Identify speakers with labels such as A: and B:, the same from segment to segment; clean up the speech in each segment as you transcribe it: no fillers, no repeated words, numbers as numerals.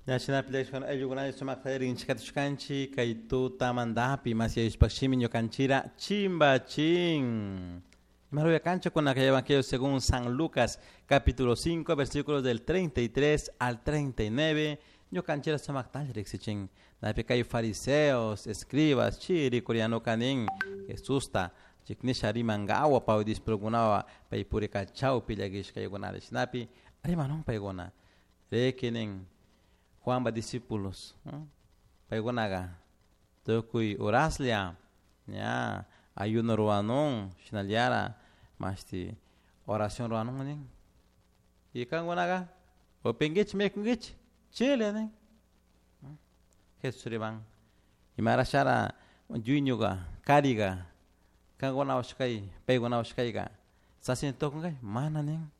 A: Ñashinapi ayllukunalla sumakta rinchikatushkanchik kay tutamantapi masyayushpakshimi ñukanchira chimbachin. Imaruya con el Evangelio según San Lucas, capítulo 5, versículos del 33 al 39. Ñukanchira sumakta riksichin. Napi kay fariseos, escribas, chiri, coreano kanin, Jesusta, chiknisha rimangawa pay discipulukunawa pay purika chawpi llakishkaykunata shinapi rimanun paykuna rikinin Juanpa discípulos paykunaqa tukuy horaslla ña ayuno ruwanun shinallara mashti oración ruwanun nin y kankunaqa upinkichik mikunkichik chile nin. Jesús riman imarashara yuyñuka kariga kankunawash kay paykunawash kayka sasina tukunkay mana nin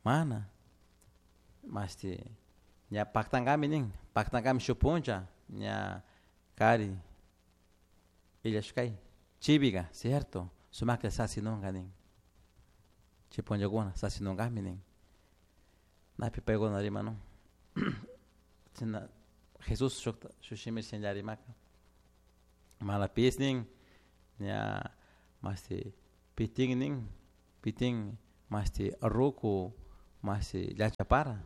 A: mana mashti ña paktankami nin paktankami shuk puncha ña kari illashkay chivika cierto sumakta sasinunka nin chay punllakuna sasinunkami nin napi paykuna rimanun chashna Jesús shukta shuk shimi shinalla rimaka malapis nin ña mashti pitin nin pitin mashti ruku mashti llachapara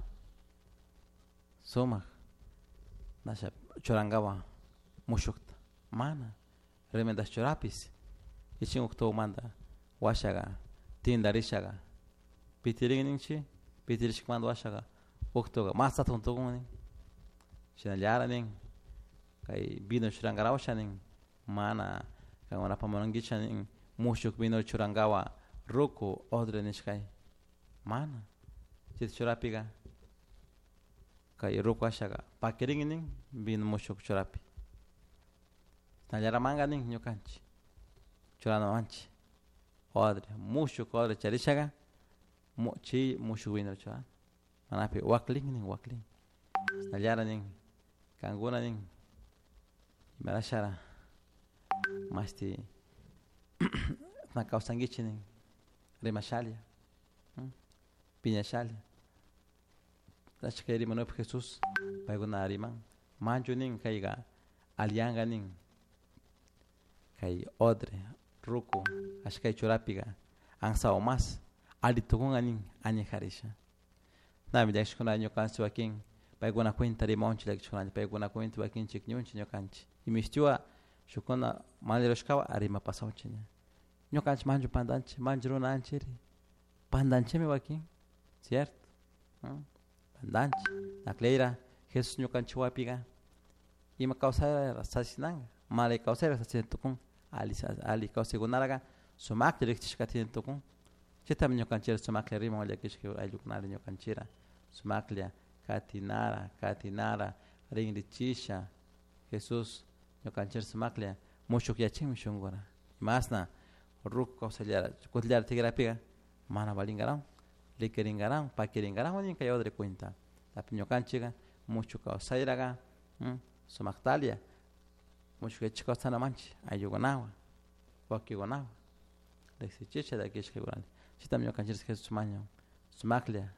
A: sumak nasha churankawan mushukta mana remendash churapis ichin uktumanta washaqa tindarishaka pitirin ninchik pitirishkamanta washaqa uktuka mas hatun tukun nin shinallara nin kay vino churankarawasha nin mana kankunapak munankichik nin mushuk vino churankawan ruku odre nishkay mana chayta churapika kay ruku ashaka pakirin nin vino mushuk churapi shinallaramanka nin ñukanchik churanawanchik odre mushuk odre charishaka chay mushuk vino churana manapi waklin nin waklin shinallara nin kankuna nin imarashara mashti na kawsankichik nin rimashalla piñashalla ashka rimanukpi Jesús paykuna riman manchu nin kayka alliyanka nin kay odre ruku ashkay churapika ansawan mas alli tukunka nin añejarisha nami llakishkuna ñukanchik wakin paykuna cuenta rimawanchik llakishkunalla paykuna cuenta wakin chikñunchik ñukanchik imishtiwa shukkuna mana rurashkawan rimapasawchik ña ñukanchik manchu pantanchik manchu runanchikri pantanchikmi wakin cierto pantanchik akleyra Jesús ñukanchik wapika ima kawsayra sasinanka mana kawsayra sasina tukun alli alli kawsaykunaraka sumakta riktishka tukun chaytami ñukanchik sumaklla riman llakishka ayllukunata ñukanchikra sumaklla katinara katinara rinrichisha Jesús ñukanchik sumaklla mushukyachinmi shunkura imasna ruku kawsayllara kutillara tigrapika mana valinkaran likirinkaran pakirinkaran nin kay odre cuenta tapi ñukanchika mushuk kawsayraka sumaktalla mushukyachik kawsanamanchik ayllukunawan wawkikunawan riksichisha llakishkakunata chaytami ñukanchik Jesús mañan sumaklla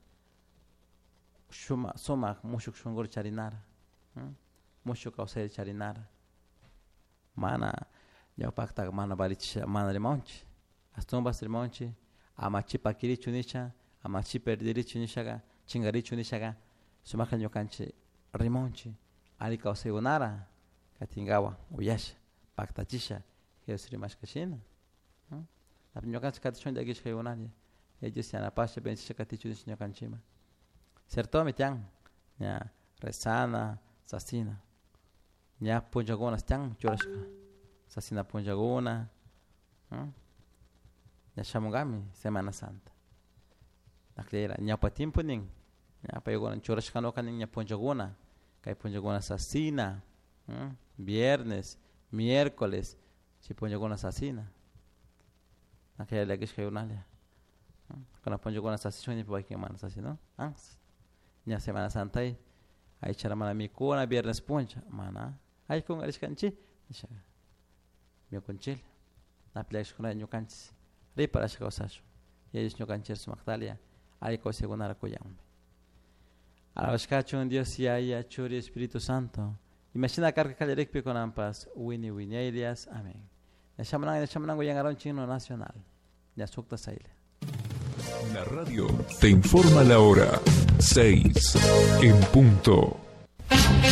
A: shuma sumak mushuk shunkuta charinara mushuk kawsayta charinara mana ñawpakta mana valichisha mana rimawanchik ashtawanpas rimawanchik ama chi pakirichu nisha ama chi perdirichu nishaka chinkarichu nishaka sumakta ñukanchik rimawanchik alli kawsaykunara katinkawan uyasha paktachisha Jesús rimashka shina ñukanchik katishun llakishkaykunalla Yaya Dios yanapasha bendechisha katichun nish ñukanchikman ciertomi tiyan ña rezana sasina ña punllakuna tiyan churashka sasina punllakuna ña shamunkami Semana Santa akllayra ñawpa tiempo nin ña paykuna churashkanuka nin ña punllakuna kay punllakuna sasina viernes miércoles chay punllakuna sasina aklla llakishkaykunalla kuna punllakuna sasishun nipi wakin mana sasina ña Semana Santay aychara mana mikuna viernes punlla mana aykunkarishkanchik nisha mikunchiklla napi llakishkunalla ñukanchik riparashka kawsashun Yaya Dios ñukanchik sumaktalla alli kawsaykunata kuyanmi. Alabashkachun Dios Yaya, Churi, Espíritu Santo. Imashina karka kallarikpi kunanpas wini wiñaylias. Amén. Ñashamanango yangaron chino nacional. Ñasukta saile.
B: La radio te informa la hora 6 en punto.